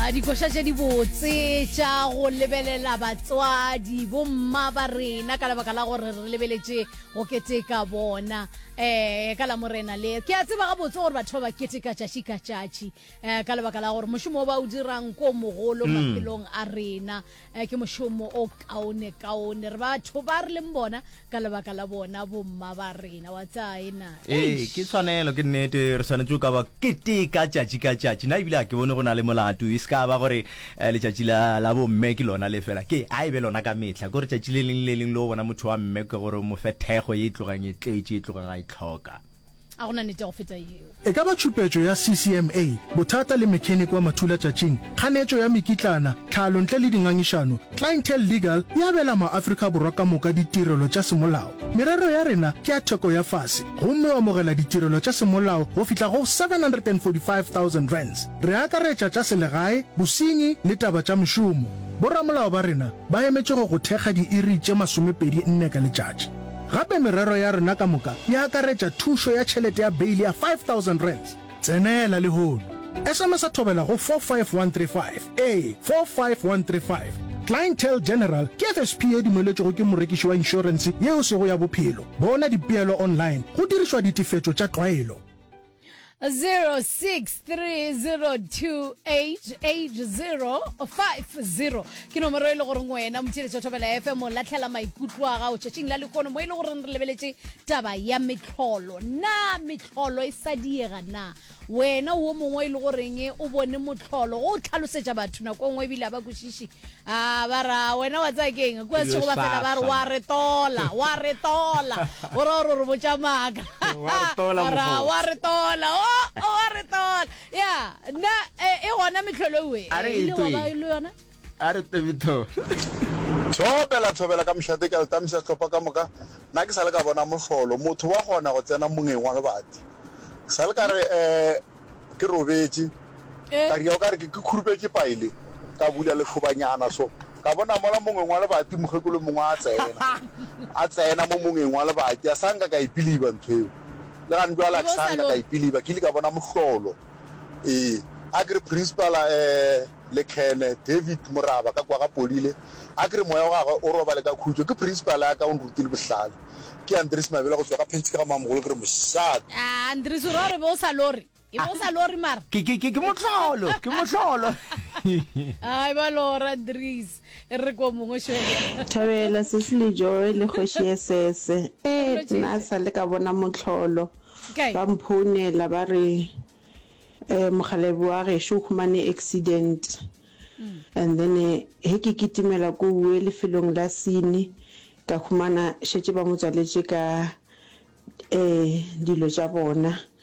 Ah, dikoša tše dibotse tša go lebelela batswadi bomma ba rena ka lebaka la gore re lebeletše go keteka bona um ka la morena le ke a tseba gabotse gore batho ba ba keteka tšatši ka tšatši um ka lebaka la gore mošomo o ba o dirang ko mogolo mm. maphelong a rena um ke mošomo o kaone kaone re batho ba re leng bona ka lebaka la bona bomma ba rena wa tsaya na ee ke tshwanelo ke nnete re swanetše o ka ba keteka tšatši ka tšatši na ebile a ke bone go na le molato e se ka ba gore eh, letšatši la, la bomme ke lona le fela ke a e be lona ka mehla ke gore tšatši le leng le leng le o bona motho wa mme ke gore o mo fe thekgo ye e tlogang e tletše e tlogang a e tlhoka A go na nnete ya go feta yeo. E ka ba tšhupetšo ya CCMA, bothata le mechanic wa mathulatšatšing, kganetšo ya mekitlana, tlhalo ntle le dingangišano, Clientele Legal e abela maAfrika Borwa ka moka ditirelo tša semolao. Merero ya rena ke ya theko ya fase gomme o amogela ditirelo tša semolao go fihla go R745,000. Re akaretša tša selegae, bosenyi le taba tša mešomo. Boramolao ba rena ba emetše go go thekga diiri tše 24 ka letšatši. Gape merero ya rena ka moka e akaretša thušo ya tšhelete ya beile ya R5000. Tsenela lehono. SMS-a Thobela go 45135. Ee, 45135. Clientele General ke FSP ye dumeletšwego ke morekiši wa inšorense ye e sego ya bophelo. Bona dipeelo online go dirišwa ditefetšo tša tlwaelo. 0630288050 ke nomoro e le goreng wena motheeletši wa Thobela FM o latlhela maikutlo a gago tšatšing la lehono mo e le goreng re lebeletše taba ya mehlolo. Na mehlolo e sa diega na? Wena o mongwe e le goreng o bone mohlolo go o tlhalosetša batho nako e nngwe ebile a ba kwešiše A ba ra, wena wa tsaya keng? Kua sešego ba fela ba re, wa re tola, wa re tola. O ra gore o re botša maaka. Wa re tola, A ra, mokgotsi. wa re tola, o, o wa re tola. Ya, nna, e, e gona mehlolo ewe. A re E ile wa ba etweng. le yona? A re tebitho. Thobela, thobela ka mošate, ke a le tamisa sehlopha ka moka. Nna ke sa le ka bona mohlolo, motho wa kgona go tsena mongeng wa lebati. Ke sa le ka re, eh, Ke robetše, ka ria o ka re ke khurupetše paele, ka bula lešobanyana so, ka bona mola mongweng wa lebati mokgekolo mongwe a tsena, a tsena mo mongeng wa lebati, a sa nka ka e piliba ntho eo. Le gane bjale a ke sa nka ka e piliba, ke ile ka bona mohlolo. Ee, a ke re principal eh, Lekhene David Moraba ka kwa ga Podile, a ke re moya wa gagwe o robale ka khutšo. Ke principal ya ka o nrutile bohlale. Ke Andries Mabela go tšwa ga Phentsi ka ga Mamogolo ke re mošate. Ah, Andries o ra gore be o sa lore. E be o sa lore mara. Ke ke ke ke mohlolo, ke mohlolo. Ai ba lora Andries. E re ko mongwe šwele. Thabela sesi le Joy le kgoši Esese. Ee, nna sa le ka bona mohlolo. Ba mphounela ba re eh mokgalabje wa gešo o humane accident and then he ke kitimela kouwe lefelong la scene ka humana šetše ba mo tswaletše ka eh dilo tša bona.